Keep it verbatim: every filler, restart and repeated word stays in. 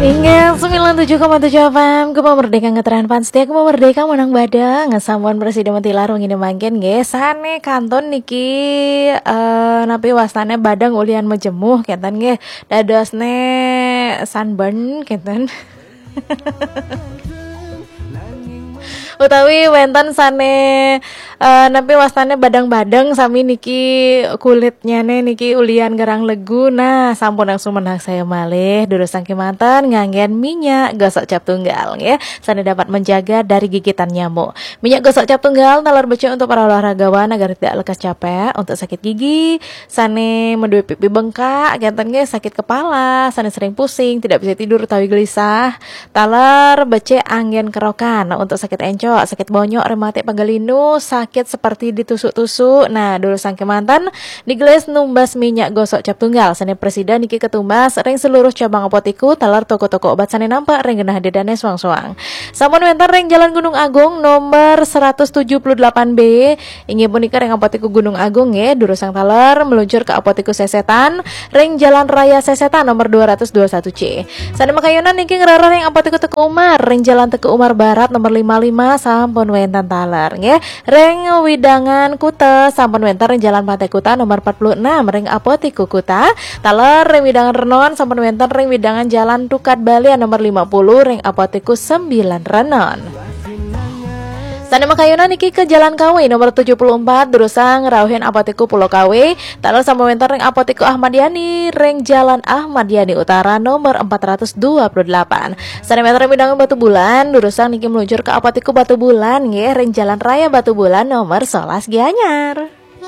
Inggih, sembilan tujuh koma tujuh F M, Gema Merdeka ngetren pan setia, Gema Merdeka menang badeng, sampun prasida matilar wengi mangkin nggih. Sane kantun niki, eh, napi wastane badeng ulian majemuh kenten nggih. Dadosne sunburn kenten. Utawi wenten sane, eh, napi wastane badeng-badeng sami niki kulitnyane niki ulian gerang legu. Nah, sampun langsung menang saya malih. Durusang kemanten nganggen minyak gosok cap tunggal nggih. Sane dapat menjaga dari gigitan nyamuk. Minyak gosok cap tunggal taler becik untuk para olahragawan agar tidak lekas capek, untuk sakit gigi, sane medue pipi bengkak, kenten nggih, sakit kepala, sane sering pusing, tidak bisa tidur utawi gelisah. Taler becik anggen kerokan untuk sakit encok, sakit bonyok, rematik, pegal linu, sakit seperti ditusuk-tusuk. Nah, durusang kemanten digelis numbas minyak gosok cap tunggal. Sane prasida niki ketumbas ring seluruh cabang apotiku taler toko-toko obat sane nampak ring genah dedane suang-suang. Sampun wenten ring Jalan Gunung Agung nomor seratus tujuh puluh delapan B. Inggih punika ring Apotiku Gunung Agung nggih, durusang taler meluncur ke Apotiku Sesetan ring Jalan Raya Sesetan nomor dua ratus dua satu C. Sane makayunan niki ngrereh ring Apotiku Teuku Umar ring Jalan Teuku Umar Barat nomor lima lima, sampun wenten taler nggih. Ring wewidangan Kuta sampun wenten ring Jalan Pantai Kuta nomor empat puluh enam ring Apotiku Kuta. Taler ring wewidangan Renon sampun wenten ring wewidangan Jalan Tukad Balian nomor lima puluh ring Apotiku sembilan Renon. Sane makayunan niki ke Jalan Kawe nomor tujuh puluh empat, durusang rauhin Apotiku Pulau Kawe. Taler sampun wenten ring Apotiku Ahmad Yani ring Jalan Ahmad Yani Utara nomor empat ratus dua puluh delapan. Sane wenten ring wewidangan Batubulan, durusang niki meluncur ke Apotiku Batubulan nggih, ring Jalan Raya Batubulan nomor sebelas Gianyar.